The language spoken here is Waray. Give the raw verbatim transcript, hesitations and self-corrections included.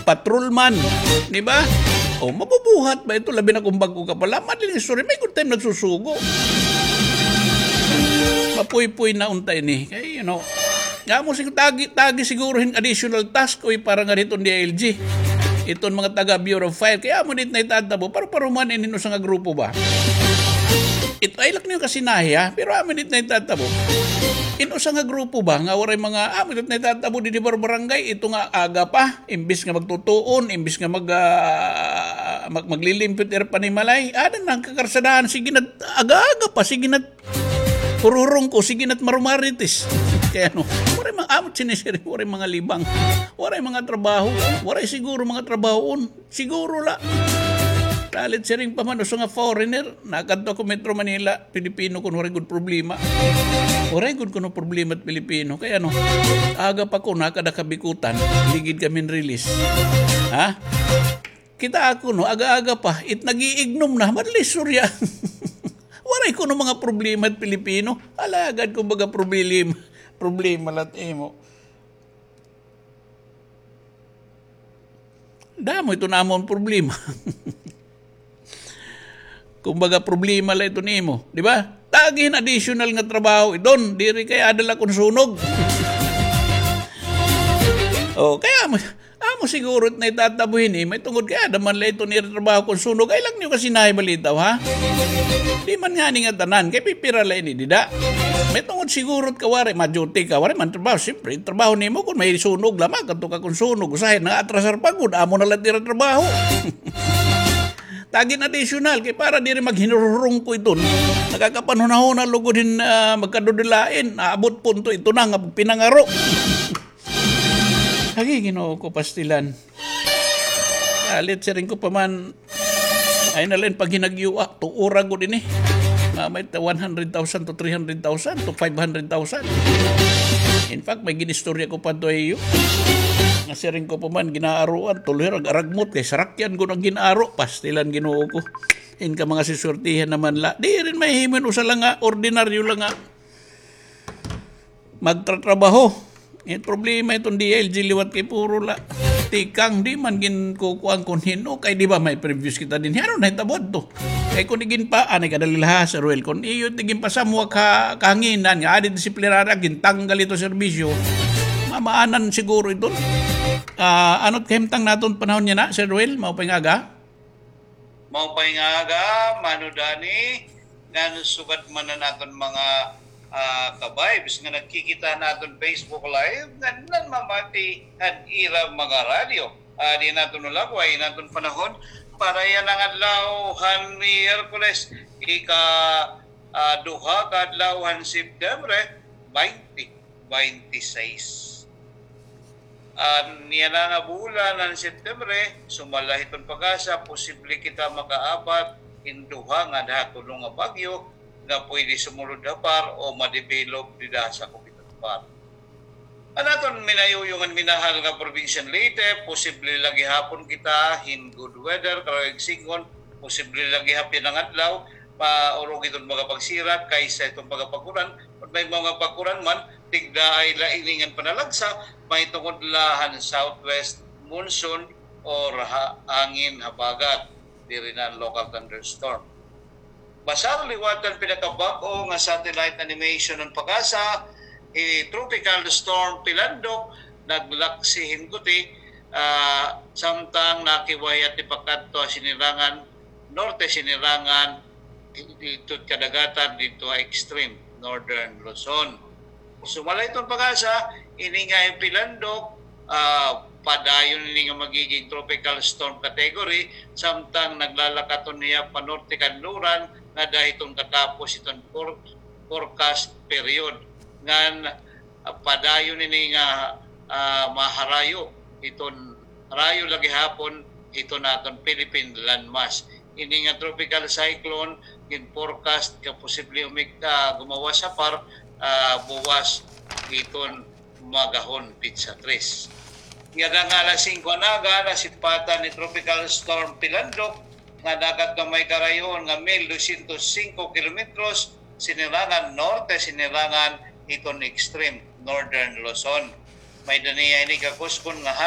patrolman, di ba? O, mabubuhat ba ito? Labi na kung bag-o ka pa la. Madaling istorya, may good time nagsusugo. Mapuypoy na unta ini. Kay, you know, nga mo sig-, tagi, tagi siguro hin additional task, uy, para nga dito D I L G. Iton mga taga Bureau of Fire. Kay amo dit na itatabo, para paruman inin usa nga grupo ba? Ito, ay, lak niyo kasinahi, ha? Pero amo dit na itatabo. In usa nga grupo ba, nga waray mga, amo dit na itatabo, di, di bar-, barangay, ito nga aga pa, imbis nga magtutuon, imbis nga mag, ah, mag-, maglilimpyo it ira panimalay, ada na an kakarsadahan, sige na, aga-aga pa, sige na, hururong ko, sige na, marumarites. Kay ano, waray mga, amo it sinisiring, waray mga libang, waray mga trabaho, waray siguro mga trabahoon. Siguro la. Lalit siring pa man, usa nga foreigner, nakadto ako Metro Manila, Pilipino kuno, waray gud problema. Waray gud kuno problema it Pilipino. Kay ano, aga pa ko, nakada kabikutan, ligid kami release. Ha? Kita ako, no, aga-aga pa, it nag-iignom na, madaling istorya. Waray kuno mga problema it Pilipino. Alagad, kumbaga, problema, problema la it imo. Damo ito namon problema. Kumbaga, problema la ito nimo, di ba? Tagi hin additional nga trabaho iton, diri kay ada la kon sunog. O, kay amo, amo siguro it na itatabo hini, may tungod kay ada man la ito nira trabaho kon sunog. Ay, lak niyo kasinahi balitaw, ha? Di man ngani nga tanan, kay pipira la ini dida. May tungod siguro it kawari, ma-duty ka, waray man trabaho. Siyempre, trabaho nimo kon may sunog la, makadto ka kon sunog. Usahay, naatrasar pa gud, amo na la it ira trabaho. Tagi hin additional, kay para diri maghinururong ko iton. Nakakapanhunahuna lugod hin, ah, magkadudilain, aabot punto ito na nga pinangaro. Agi, Ginoo ko, pastilan. Lalit siring ko pa man, ay na la hin paghinagyoa, tuora gud ini. Nga may ta-, one hundred thousand to three hundred thousand to five hundred thousand. In fact, may ginistorya ko pa to iyo. Nga siring ko pa man, ginaaruan, tuloy rag-aragmot, kay sarakyan ko nang ginaaro, pastilan, Ginoo ko. In ka mga siswertihan naman la. Di rin mahimo hin usa la nga, ordinaryo la nga magtratrabaho. Eh, problema iton D I L G liwat kay puro la tikang, di man ginkukuan kon hin-o, kay di ba may previous kita dinhi. Ano nahitabo adto? Kay kon iginpa-, anay kadali la ha, Sir Ruel, kon iyo it iginpasamwak ha kahanginan nga adi disiplinarya, gintanggal ito serbisyo, mamaanan siguro iton. Ah, ano it kahimtang naton panahon yana, Sir Ruel? Maupay nga aga? Maupay nga aga, Mano Dani, ngan sugad man an aton mga, ah, ka-vibes nga nagkikita han aton Facebook Live, ngan nanmamati han ira mga radyo. Ah, di naton ulagway in aton panahon para yana nga adlaw han Miyerkules, ika, ah, duha ka adlaw han September, baynte baynte sais. An yana nga bulan han September, sumala hiton PAGASA, posible kita makaabat hin duha ngada ha tulo nga bagyo nga pwede sumulod ha PAR o ma-develop dida ha sakop hiton PAR. An aton minayuyong ngan minahal nga probinsiya han Leyte, posible la gihapon kita hin good weather, karuyag sidngon, posible la gihapon yana nga adlaw, maurog hiton mga pagsirak kaysa hiton mga pag-uran. Kon may mga pag-uran man, tigdaay la ini ngan panalagsa, mahitungod la han southwest monsoon or ha-, hangin habagat, diri na an local thunderstorm. Basar liwat an pinakabag-o nga satellite animation han PAGASA, hi Tropical Storm Pilandok, naglaksi hin guti, ah, samtang nakiwayat tipakadto ha Sinirangan Norte, Sinirangan, didto kadagatan, didto ha extreme northern Luzon. Sumala hiton PAGASA, ini nga hi Pilandok, ah, padayon ini nga magiging tropical storm category, samtang naglalakaton hiya panorte kanluran ngada hiton katapos hiton for-, forecast period. Ngan, ah, padayon ini nga, ah, maharayo hiton harayo la gihapon hiton aton Philippine landmass. Ini nga tropical cyclone, gin-forecast nga posible umig-, ah, gumawas ha PAR, ah, buwas hiton magahon, petsa tres. Ngada nga alas singko han aga, nasipatan ni Tropical Storm Pilandok nga nakadto ha may karayoon nga mil dosyentos singko kilometros, Sinirangan Norte, Sinirangan hiton extreme northern Luzon. May-ada niya ini kakuskon nga ha